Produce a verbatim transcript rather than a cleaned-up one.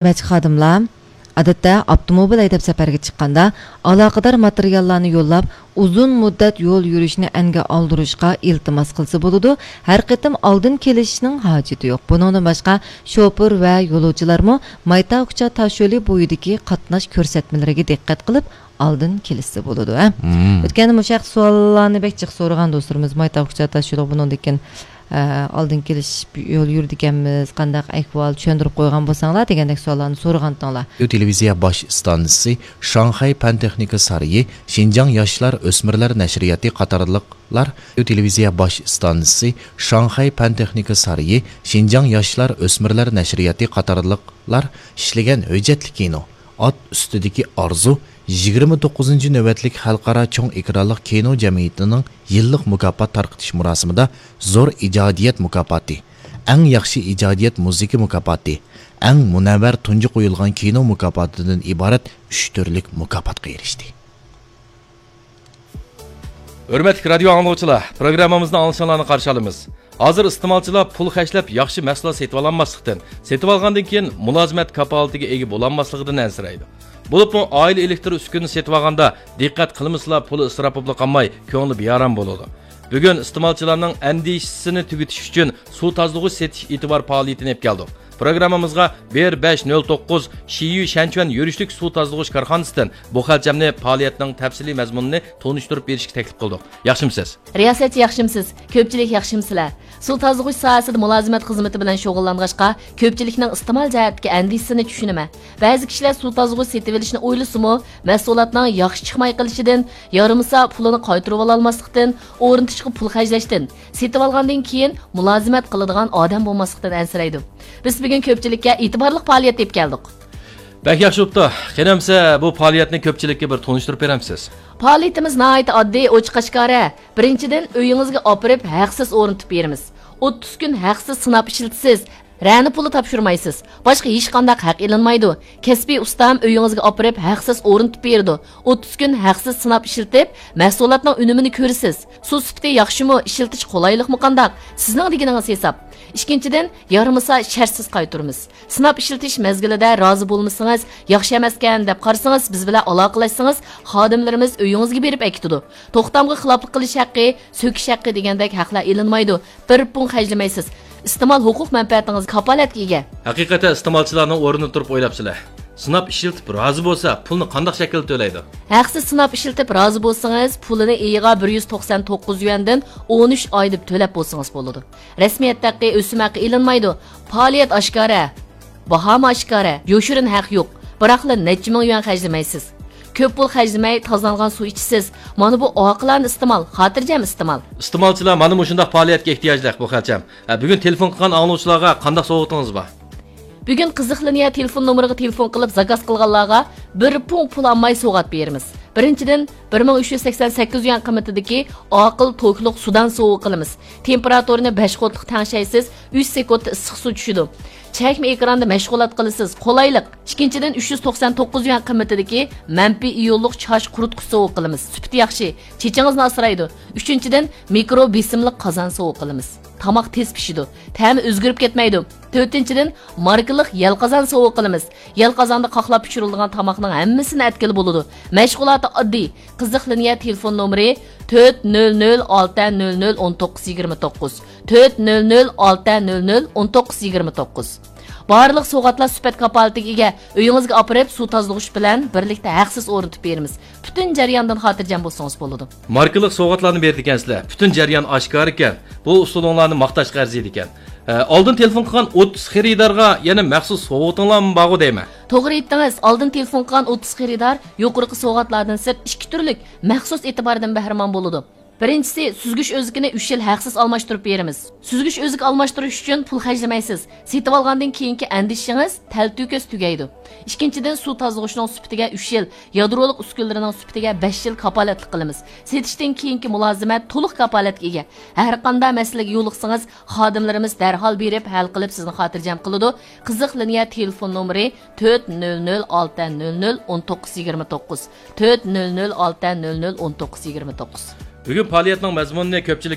خىزمەتچى خادىملار، ئادەتتە، ئاپتوموبىل ھەيدەپ سەپەرگە چىققاندا، ئالاقىدار ماتېرىياللارنى يوللاپ، ئۇزۇن مۇددەت يول يۈرۈشنى ئەنگە ئالدۇرۇشقا ئىلتىماس قىلسا بولىدۇ. ھەر قېتىم ئالدىن كېلىشىشنىڭ ھاجىتى يوق. بۇنىڭدىن باشقا، شوپۇر ۋە يولۇچىلارمۇ مايتاۋكۇچا تاشيولى بويىدىكى قاتناش كۆرسەتمىلىرىگە دىققەت قىلىپ، ئالدىن كېلىشسە بولىدۇ، ھە؟ مم. ئۆتكەندە مۇشۇ ھەقتە سوئاللارنى بەك جىق سورىغان دوستلىرىمىز، مايتاۋكۇچا تاشيولى بۇنىڭدىن كېيىن، ئە، ئالدىن كېلىش يول يۈرىدىكەنمىز، قانداق ئەھۋال، چۈشەندۈرۈپ قويغان بولساڭلار دېگەندەك سوئاللارنى سورىغانتىڭلار. تېلېۋىزىيە باش ئىستانسىسى، شاڭخەي پەن تېخنىكا سارىيى، شىنجاڭ ياشلار ئۆسمۈرلەر نەشرىياتى قاتارلىقلار، تېلېۋىزىيە باش ئىستانسىسى، شاڭخەي پەن تېخنىكا سارىيى، شىنجاڭ ياشلار ئۆسمۈرلەر نەشرىياتى قاتارلىقلار ئىشلىگەن ھۆججەتلىك كىنو، ئات ئۈستىدىكى ئارزۇ، يىگىرمە توققۇزىنچى نۆۋەتلىك خەلقئارا چوڭ ئېكرانلىق كىنو جەمئىيىتىنىڭ يىللىق مۇكاپات تارقىتىش مۇراسىمىدا زور ئىجادىيەت مۇكاپاتى، ئەڭ ياخشى ئىجادىيەت مۇزىكا مۇكاپاتى، ئەڭ مۇنەۋۋەر تۇنجى قويۇلغان كىنو مۇكاپاتىدىن ئىبارەت ئۈچ تۈرلۈك مۇكاپاتقا ئېرىشتى. ھۆرمەتلىك رادىيو ئاڭلىغۇچىلار، پروگراممىمىزنى ئاڭلىشىڭلارنى قارشى ئالىمىز. ھازىر ئىستېمالچىلار پۇل خەجلەپ ياخشى مەھسۇلات سېتىۋالالماسلىقتىن، سېتىۋالغاندىن كېيىن مۇلازىمەت كاپالىتىگە ئىگە بولالماسلىقىدىن ئەنسىرەيدۇ. بولۇپمۇ ئائىلە ئېلېكتر ئۈسكۈنىنى سېتىۋالغاندا دىققەت قىلمىسىلا پۇل ئىسراپ بولۇپلا قالماي، كۆڭلى بىئارام بولىدۇ. بۈگۈن ئىستېمالچىلارنىڭ ئەندىشىسىنى تۈگىتىش ئۈچۈن سۇ تازىلىغۇچ سېتىش ئېتىبار پائالىيىتىنى ئېلىپ كەلدۇق. پروگراممىمىزغا بىر بەش نۆل توققۇز شىيۈ شەنچۈەن يۈرۈشلۈك سۇ تازىلىغۇچ كارخانىسىدىن بۇ خەلچەمنى پائالىيەتنىڭ تەپسىلىي مەزمۇنىنى تونۇشتۇرۇپ بېرىشكە تەكلىپ قىلدۇق. ياخشىمۇسىز؟ رىياسەتچى، ياخشىمۇسىز؟ كۆپچىلىك، ياخشىمۇسىلەر؟ سۇ تازىلىغۇچ ساھەسىدە مۇلازىمەت خىزمىتى بىلەن شۇغۇللانغاچقا، كۆپچىلىكنىڭ ئىستېمال جەھەتتىكى ئەندىشىسىنى چۈشىنىمەن. بەزى كىشىلەر سۇ تازىلىغۇچ سېتىۋېلىشنى ئويلىسىمۇ، مەھسۇلاتنىڭ ياخشى چىقماي قېلىشىدىن، يارىمىسا پۇلىنى قايتۇرۇۋالالماسلىقتىن، ئورنىتىشقا پۇل خەجلەشتىن، سېتىۋالغاندىن كېيىن مۇلازىمەت قىلىدىغان ئادەم بولماسلىقتىن ئەنسىرەيدۇ. بىز بۈگۈن كۆپچىلىككە ئېتىبارلىق پائالىيەت ئېلىپ كەلدۇق. بەك ياخشى بوپتۇ. قېنى ئەمسە بۇ پائالىيەتنى كۆپچىلىككە بىر تونۇشتۇرۇپ بېرەمسىز؟ پائالىيىتىمىز ناھايىتى ئاددىي، ئوچۇق ئاشكارا. بىرىنچىدىن، ئۆيىڭىزگە ئاپىرىپ ھەقسىز ئورنىتىپ بېرىمىز. ئوتتۇز كۈن ھەقسىز سىناپ ئىشلىتىسىز. رەنە پۇلى تاپشۇرمايسىز. باشقا ھېچقانداق ھەق ئېلىنمايدۇ. كەسپىي ئۇستام ئۆيىڭىزگە ئاپىرىپ ھەقسىز ئورنىتىپ بېرىدۇ. ئوتتۇز كۈن ھەقسىز سىناپ ئىشلىتىپ، مەھسۇلاتنىڭ ئۈنۈمىنى كۆرىسىز. سۇ سۈپىتى ياخشىمۇ، ئىشلىتىش قولايلىقمۇ قانداق؟ سىزنىڭ دېگىنىڭىز ھېساب. ئىككىنچىدىن، يارىمىسا شەرتسىز قايتۇرىمىز. سىناپ ئىشلىتىش مەزگىلىدە رازى بولمىسىڭىز، ياخشى ئەمەسكەن دەپ قارىسىڭىز، بىز بىلەن ئالاقىلەشسىڭىز، خادىملىرىمىز ئۆيىڭىزگە بېرىپ ئەكېتىدۇ. توختامغا خىلاپلىق قىلىش ھەققى، سۆكۈش ھەققى دېگەندەك ھەقلەر ئېلىنمايدۇ. بىر پۇڭ خەجلىمەيسىز. ئىستېمال ھوقۇق مەنپەئەتىڭىز كاپالەتكە ئىگە. ھەقىقەتەن ئىستېمالچىلارنىڭ ئورنىدا تۇرۇپ ئويلاپسىلەر. سىناپ ئىشلىتىپ رازى بولسا، پۇلنى قانداق شەكىلدە تۆلەيدۇ؟ ھەقسىز سىناپ ئىشلىتىپ رازى بولسىڭىز، پۇلىنى ئېيىغا بىر يۈز توقسان توققۇز يۈەندىن ئون ئۈچ ئاي دەپ تۆلەپ بولسىڭىز بولىدۇ. رەسمىيەت ھەققى، ئۆسۈم ھەققى ئېلىنمايدۇ. پائالىيەت ئاشكارا. باھامۇ ئاشكارا، يوشۇرۇن ھەق يوق. بىراقلا نەچچە مىڭ يۈەن خەجلىمەيسىز. كۆپ پۇل خەجلىمەي، تازىلانغان سۇ ئىچىسىز. مانا بۇ ئاقىلانە ئىستېمال، خاتىرجەم ئىستېمال. ئىستېمالچىلار مانا مۇشۇنداق پائالىيەتكە ئېھتىياجلىق بۇ خەلچەم. ھە، بۈگۈن تېلېفون قىلغان ئاڭلىغۇچىلارغا قانداق سوۋغىتىڭىز بار؟ بۈگۈن قىزىق لىنىيە تېلېفون نومۇرىغا تېلېفون قىلىپ زاكاز قىلغانلارغا بىر پۇڭ پۇل ئالماي سوۋغات بېرىمىز. بىرىنچىدىن، بىر مىڭ ئۈچ يۈز سەكسەن سەككىز يۈەن قىممىتىدىكى ئاقىل توكلۇق سۇدان سوۋغا قىلىمىز. تېمپېراتۇرىنى بەش ۋولتلۇق تەڭشەيسىز، ئۈچ سېكۇنتتا ئىسسىق سۇ چۈشىدۇ. چەكمە ئېكراندا مەشغۇلات قىلىسىز، قولايلىق. ئىككىنچىدىن، ئۈچ يۈز توقسان توققۇز يۈەن قىممىتىدىكى مەنپىي ئىيونلۇق چاچ قۇرۇتقۇچ سوۋغا قىلىمىز. سۈپىتى ياخشى، چېچىڭىزنى ئاسرايدۇ. ئۈچىنچىدىن، مىكرو بېسىملىق قازان سوۋغا قىلىمىز. تاماق تېز پىشىدۇ، تەمى ئۆزگىرىپ كەتمەيدۇ. تۆتىنچىدىن، ماركىلىق يەل قازان سوۋغا قىلىمىز. يەل قازاندا قاقلاپ پىشۇرۇلىدىغان تاماقنىڭ ھەممىسىنى ئەتكىلى بولىدۇ. مەشغۇلاتى ئاددىي. قىزىق لىنىيە تېلېفون نومۇرى تۆت نۆل نۆل ئالتە نۆل نۆل ئون توققۇز يىگىرمە توققۇز، تۆت نۆل نۆل ئالتە نۆل نۆل ئون توققۇز يىگىرمە توققۇز. بارلىق سوۋغاتلار سۈپەت كاپالىتىگە ئىگە. ئۆيىڭىزگە ئاپىرىپ، سۇ تازىلىغۇچ بىلەن بىرلىكتە ھەقسىز ئورنىتىپ بېرىمىز. پۈتۈن جەرياندىن خاتىرجەم بولسىڭىز بولىدۇ. ماركىلىق سوۋغاتلارنى بېرىدىكەنسىلەر. پۈتۈن جەريان ئاشكارىكەن. بۇ ئۇسۇلۇڭلارنى ماختاشقا ئەرزىيدىكەن. ھە، ئالدىن تېلېفون قىلغان ئوتتۇز خېرىدارغا يەنە مەخسۇس سوۋغىتىڭلارمۇ بارغۇ دەيمەن. توغرا ئېيتتىڭىز، ئالدىن تېلېفون قىلغان ئوتتۇز خېرىدار يۇقىرىقى سوۋغاتلاردىن سىرت ئىككى تۈرلۈك مەخسۇس ئېتىباردىن بەھرىمەن بولىدۇ. بىرىنچىسى، سۈزگۈچ ئۆزىكىنى ئۈچ يىل ھەقسىز ئالماشتۇرۇپ بېرىمىز. سۈزگۈچ ئۆزۈك ئالماشتۇرۇش ئۈچۈن پۇل خەجلىمەيسىز. سېتىۋالغاندىن كېيىنكى ئەندىشىڭىز تەلتۆكۈس تۈگەيدۇ. ئىككىنچىدىن، سۇ تازىلىغۇچنىڭ سۈپىتىگە ئۈچ يىل، يادرولۇق ئۈسكۈنىلىرىنىڭ سۈپىتىگە بەش يىل كاپالەتلىك قىلىمىز. سېتىشتىن كېيىنكى مۇلازىمەت تولۇق كاپالەتكە ئىگە. ھەرقانداق مەسىلىگە يولۇقسىڭىز، خادىملىرىمىز دەرھال بېرىپ ھەل قىلىپ سىزنى خاتىرجەم قىلىدۇ. قىزىق لىنىيە تېلېفون نومۇرى تۆت نۆل نۆل ئالتە نۆل نۆل ئون توققۇز يىگىرمە توققۇز، تۆت نۆل نۆل ئالتە نۆل نۆل ئون توققۇز يىگىرمە توققۇز. بۈگۈن پائالىيەتنىڭ مەزمۇنىنى كۆپچىلىك